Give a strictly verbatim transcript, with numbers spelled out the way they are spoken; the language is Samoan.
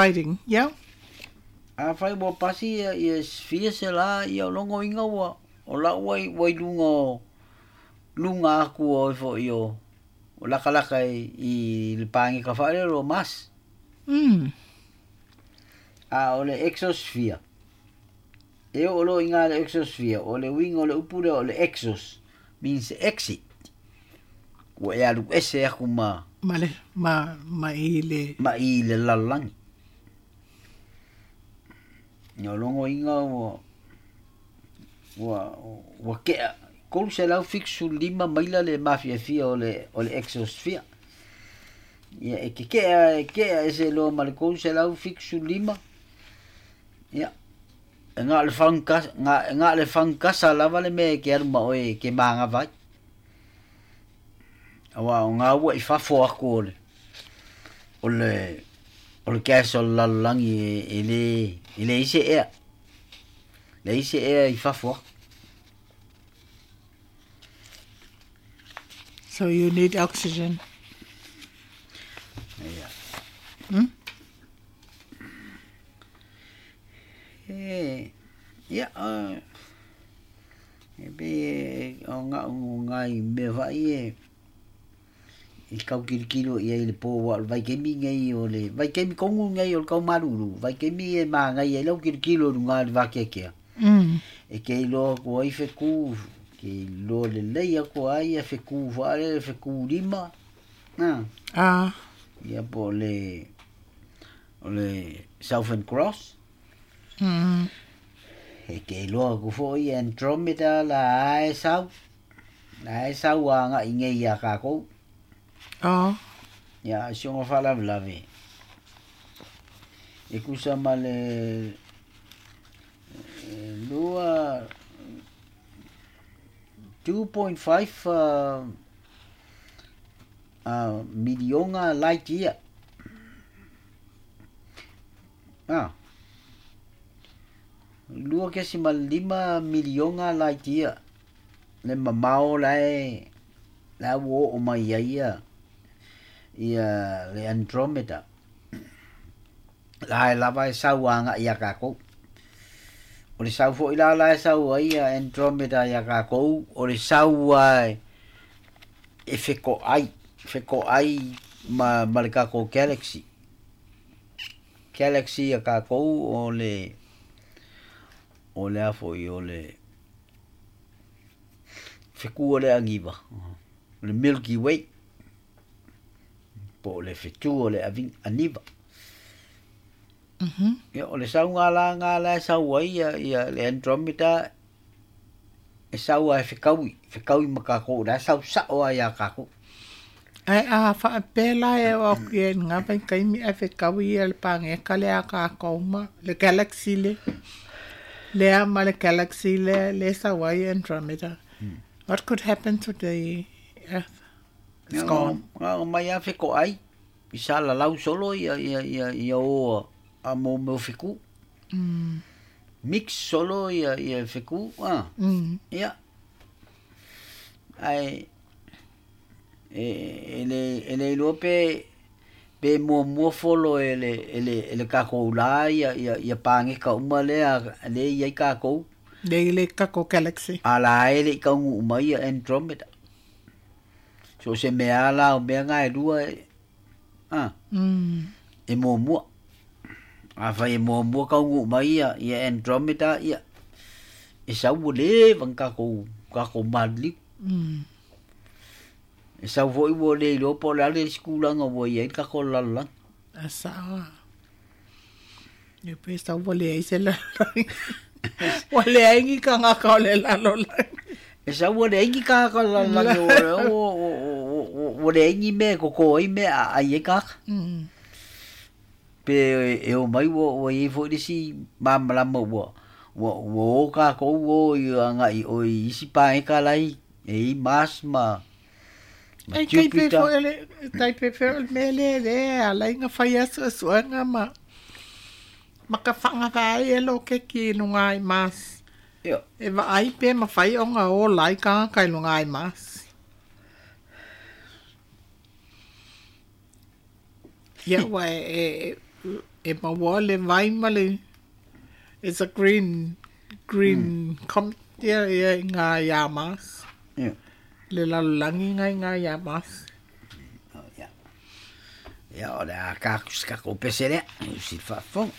Fighting, yeah. Afai ua pasi ia, ia fia se la ia o logo inga ua o la ua i ua i luga o luga aku o ifo i o o lakalaka i, i le pāgeka faalelo o Mars. Mm. A o le exosphere. E oo loa i gā le exosphere, o le uiga o le upu lea o le exos means exit. Ua e alu ese aku ma Ma le ma ma i le ma i le lalolagi. Ia o logo iga ua ua ua kea tolu selau fitu lima maila le mafiafia o le o le exosphere. Ia e kekea e kea ese loa ma le tolu selau fitu lima. Ia e na o le fagukasa na na o le fagukasa lava le mea e ke alu ma oe e ke magava ai. Auā o gā ua i fafo aku o le o le o le gas o le lalolagi e e lē e leai se ea. Leai se ea i fafo aku. So you need oxygen. Ia. Mm? E ia uh, e pei e o ga'u gai mea fa'i e i kaukilikilo i ai le pō uā o le vaikaimi nei o le vaikaimi kogu nei o le kaumalūlū vaikaimi e magaia ai lau kilokilo i lugā i le vakeakea. Mm. E ke iloa aku ai fekū ke iloa lelei aku ai ia fekū faalele fekū lima a Ah. ia po o le o le Southern Cross. Mm. E ke iloa aku fo'i Andromeda la ae sau la ae sau aga'i nei iā kākou. Oh. Ia si oga faalavelave e tusa ma le lua two point five uh, uh, milioga light year. Ah. Lua kesima lima milioga light year le mamao la e la ua oo mai ai ia ia le Andromeda. La e lava e sau aga'i iā kākou. O le sau fo'i la la e sau ai ia Andromeda iā kākou, o le sau a e feko'ai, feko'ai ma ma le takou galaxy. Galaxy a kākou o le o le a fo'i o le fekū o le agiva, o le Milky Way. Po o le fetū o le aviga aniva. Mhm. Ia o le sauga la gā la e sau ai ia ia le Andromeda e sau a e fekaui, fekaui ma kākou la e sau sa'o a iā kākou. Ae a faapea la e o aku i ai i lagā vaitaimi ae fekaui ia le pageka lea a kākou ma le galaxy le lea ma le galaxy lea le sau ai Andromeda. What could happen to the earth? It's Ia gone. na o mai a feko'ai i sa lalau solo ia ia ia ia o a mo mea o fekū. Mm. Mix solo ia ia fekū a. Mm. Ia. Ae e e le e le iloa pe pe muamua folo e le e le e le kākou lā ia ia ia pageka uma lea lea e i ai kākou. Le le kākou galaxy. A la e le'i taunuu mai ia Andromeda. So o se mea a la o mea gā e lua e a Mm. e muamua. Afai e muamua taunuu mai ia ia Andromeda ia e sau ua leva ona tatou tatou maliliu. Mm. E sau fo'i ua le iloa po o le a le isi tulaga ua i ai le tatou lalolagi. A sa'o a. Ia pe sau ua leai se lalolagi. Ua leai ni tagata o le lalolagi. E sau ua leai ni tagata o le lalolagi ua ua ua leai ni mea e koko ai mea a ai ai tagata. Mm. Pe e o mai ua ua iai fo'i le isi malamalama ua ua ua o kākou o i aga'i o i isi pageka lai e i Mars ma ma Ai tai pe Jupiter. fo'i o le tai pe fo'i o le mea lea lea e ala ai ona fai asu'asu'ega ma ma ka fa'agavae e lokeki i lugā i Mars. Ia. E va'ai pe mafai ona ola ai tagata i lugā i Mars. Ia ua e e E maua le vai ma le it's a green green mm. com ia ia i ngā iā Mars. Ia. Le lalolagi nga i ngā iā Mars. Oh, ia. Ia o le a kāku se kako pese lea, i usi faafofoga.